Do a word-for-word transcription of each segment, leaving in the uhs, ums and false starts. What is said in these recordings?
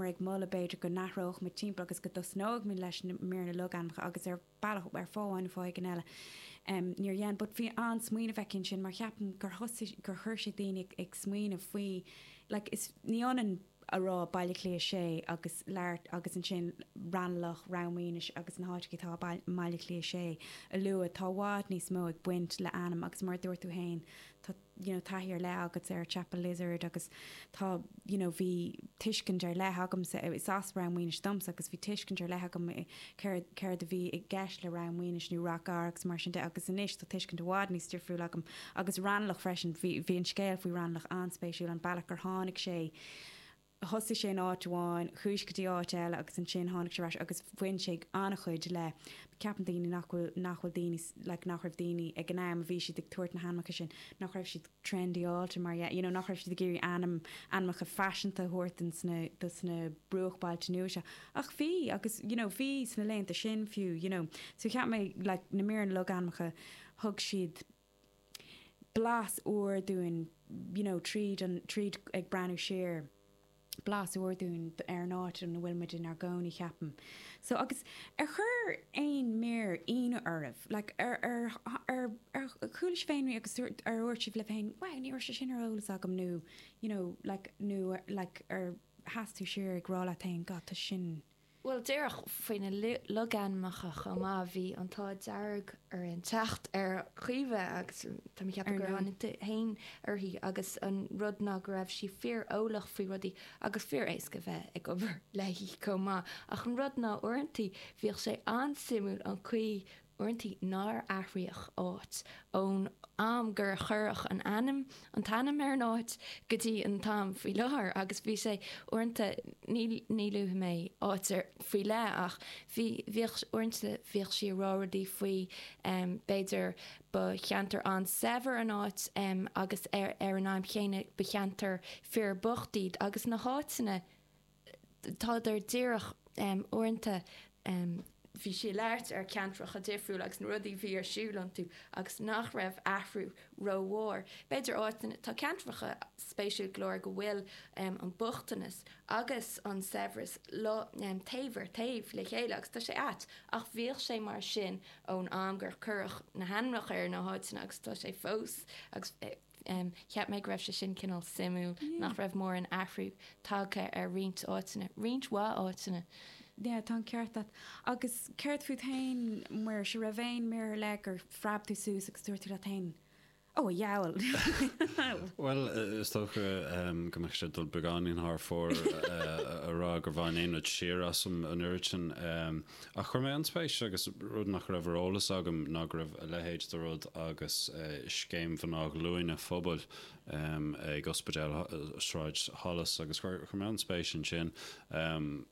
bhíomar ag moladh b'fhéidir go n-athródh muid timpeall agus go dtosnódh muid leis na míreanna logainmneacha agus ar bealach ar fáth amháin nó fáth éigin eile um, níor dhein, but bhí an-smaoineamh aici ansin mar cheapaim gur thosaigh gur chuir sé daoine ag, ag smaoineamh faoi like, is ní ionann a rá Baile Átha Cliath sé agus leart agus ansin Raghnallach Ráth Maonais agus na háiteacha atá Baile Átha Cliath sé a lua tá i bhfad níos mó ag baint le ainm agus mar dúirt tú féin tá you know, taithí ar leith agat ar Chapel Lizard agus tá you know, bhí tuiscint ar leith agamsa is as Ráth Maonais domsa agus bhí tuiscint ar leith agam céard céard a bhí i gceist le Ráth Maonais nó Ráth Gearr agus mar sin de agus anois tá tuiscint i bhfad níos difriúil agam agus Raghnallach freisin bhí bhí an scéal faoi Raghnallach an-spéisiúil an bealach gur tháinig sé thosaigh sé in áit amháin, chuaigh go dtí áit eile agus ansin tháinig sé ar ais agus bhain sé an-chuid le ceapann daoine nach bhfuil nach bhfuil daoine like, nach raibh daoine ag an am a bhí siad ag tabhairt na hainmneacha sin nach raibh siad trendy-áilte mar you know, nach raibh siad ag iarraidh ainm ainmneacha faiseanta a thabhairt sna sna bruachbhailte nua seo. Ach bhí agus you know, bhí sna laethanta sin fiú you know. So cheap mé like, na míreanna logainmneacha thug siad blas úr dúinn you know, tríd an tríd ag breathnú siar blas úr dúinn ar an áit ina bhfuil muid inár gcónaí ceapaim. So agus ar chuir aon mír ionadh oraibh, like, ar ar ar ar chuala sibh féin agus ar dhúirt sibh libh féin, wow, ní raibh sé sin ar eolas agam nó you know, like, nó like, ar sheas tú siar ag rá leat féin, God, tá sin. Well díreach faoi na logainmneacha chomh maith bhí an t-ádh dearg ar an teacht ar Chaoimhe agus tá mé ag ceapadh gur tháinig féin uirthi agus an rud ná go raibh sí fíor-eolach faoi rudaí agus fíor éasca bheith ag obair léi chomh maith ach an rud ná uaireanta bhíodh sé an-suimiúil an chaoi uaireanta nár athraíodh áit ón am gur cuireadh an ainm an t-ainm ar an áit go dtí an t-am faoi láthair agus bhí sé uaireanta ní ní luafaidh mé áit ar faoi leith ach bhí bhíodh uaireanta bhíodh sí ag rá rudaí faoi um, b'fhéidir ba cheantar an-saibhir an áit um, agus ar ar an am chéanna ba cheantar fíorbhocht iad agus na háiteanna tádar díreach um, uaireanta um, bhí sí ag labhairt ar ceantracha difriúil agus na rudaí bhí ar siúl iontu agus nach raibh athrú rómhór. B'fhéidir áiteanna tá ceantracha spéisiúil go leor go bhfuil um, an bochtanas agus an saibhreas le um, taobh ar taobh le chéile agus tá sé ait ach bhíodh sé mar sin ón am gur cuireadh na hainmneacha ar na háiteanna agus tá sé fós agus um, cheap mé go raibh sé sin cineál suimiúil yeah. nach raibh mórán athrú tagtha ar roinnt áiteanna, roinnt mhaith áiteanna. Yeah, tá ceart agat. Agus céard fút féin mar se raibh aon mír le gur phreab tú suas agus dúirt tú leat féin. Ó dheabhail. Well is dócha go mbeadh sé dul beagáinín thar fóir a rá gur bhain aon rud siar asam an oiread sin ach chuir mé an-spéis agus rud nach raibh ar eolas agam ná go raibh a leithéid de rud agus scéim mná glúine phobail ag ospidéal Sráid Holles agus chuir mé an-spéis ansin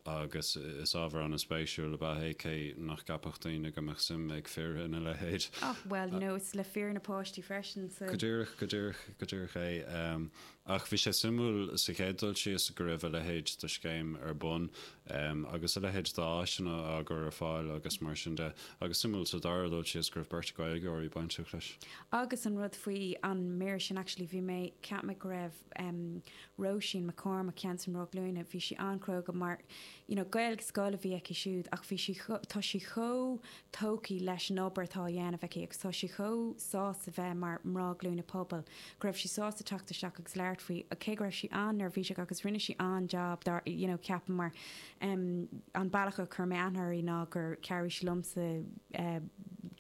agus is ábhar an-spéisiúil ab ea é cé nach gceapfadh daoine go mbeadh suim ag fir ina leithéid. Ach well you know, is le fir na páistí freisin so. Go díreach go díreach go díreach é. Ach bhí sé suimiúil sa chéad dul síos go raibh a leithéid de scéim ar bun agus a leithéid d'áiseanna á gcur ar fáil agus mar sin de agus suimiúil sa dara dul síos go raibh beirt Ghaeilgeoirí bainteach leis. Agus an rud faoi an mír sin actually bhí mé cheap mé go raibh um, Róisín McCormack ceann san Glúine bhí sí an-chróga mar you know, Gaeilge scoile a bhí aici siúd ach bhí sí tá sí chomh tógtha leis an obair atá á dhéanamh aici agus tá sí chomh sásta bheith mar mná glúine pobail go raibh sí sásta teacht isteach agus labhairt faoi cé go raibh sí an-neirbhíseach agus rinne sí an-job dar you know, ceapaim mar um, an bealach a chuir mé aithne uirthi ná gur chabhraigh sí liomsa uh,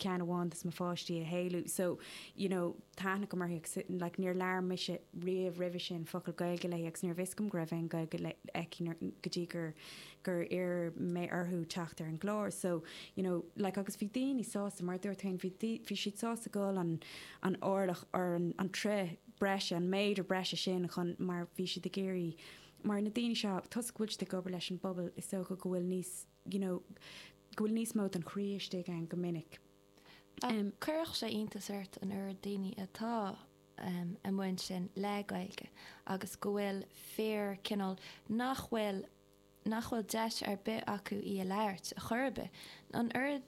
ceann amháin de mo pháistí a shaolú so you know, tá aithne agam uirthi like, níor labhair mise riamh roimhe sin focal Gaeilge léi agus níor bhfios dom go raibh aon Ghaeilge aici go dtí gur gur iarr mé orthu teacht ar an gclár so you know like agus bhí daoine sásta mar dúirt féin bhí bhí siad sásta dul an an orlach ar an, an troigh breise an méadar breise sin chun mar bhí siad ag iarraidh mar na daoine seo toisc go bhfuil siad ag obair leis an bpobal is dócha go bhfuil níos you know go bhfuil níos mó den chroí istigh ann go minic. Um, Cuirfeadh sé iontas ort an oiread daoine atá um, amuigh ansin le Gaeilge agus go bhfuil fíor cineál nach bhfuil nach bhfuil deis ar bith acu í a labhairt a chor ar bith. An oiread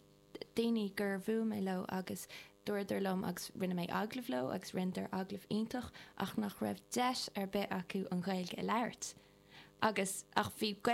daoine gur bhuail mé leo agus dúradar liom agus rinne mé agallamh leo agus rinneadar agallamh iontach ach nach raibh deis ar bith acu an Ghaeilge a labhairt. Agus ach bhí